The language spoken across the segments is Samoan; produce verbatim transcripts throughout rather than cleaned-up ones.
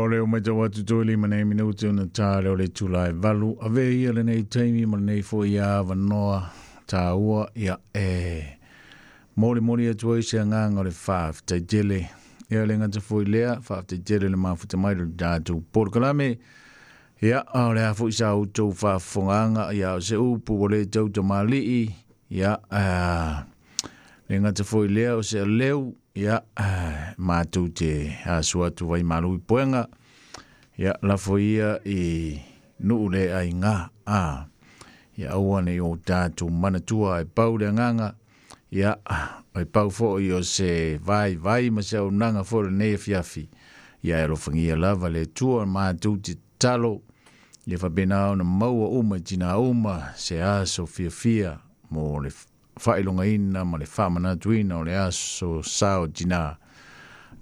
O le o mai tau atu toi lima nei minuti ona tā le o le tula e valu. Ave ia lenei taimi ma lenei foi ia avanoa tāua ia e moli moli atu ai se agaga o le faafetai tele. Ia le gata foi lea, faafetai tele le mafuta mai le tatou polokalame. Ia, o le a foi sa outou faafofogaaga, ia o se upu ua le tautamalii, ia, le gata foi lea o se aleu, ia, matou te asu atu vai malu i poega, ia, lafo ia i nuu le aiga, a, ia aua ne i o tatou manatua e pau le agaga, ia, e pau foi o se vaivai ma se auaunaga foi lenei afiafi, ia e alofagia lava le Atua matou te tatalo, ia faapena ona maua uma i tina uma se aso fiafia mo le faailogaina ma le faamanatuina o le aso sa o tina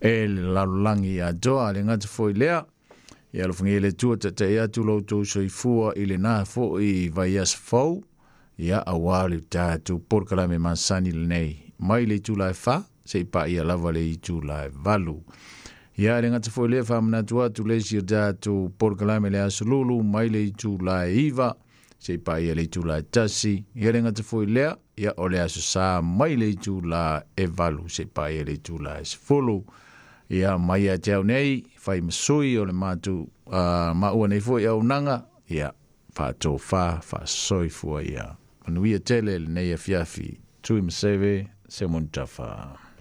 e le lalolagi atoa. Le gata foi lea, ia alofagia le Atua taitai atu lo outou soifua i lena foi vaiaso fou, ia auā le tatou polokalame masani lenei mai le itula e fa seia paia lava le itula e valu. Ia le gata foi lea, faamanatu atu le isi o tatou polokalame le aso Lulu mai le itula e iva seia paia le itula e tasi. Ia le gata foi lea, ia o le aso Sa mai le itula e valu seia paia le itula e sefulu. Ia mai ia te au nei, fai ma sui o le matou uh, maua nei foi auaunaga, ia faatofa faasoifua ia. Manuia tele lenei afiafi. Tuimaseve, Seumanutafa.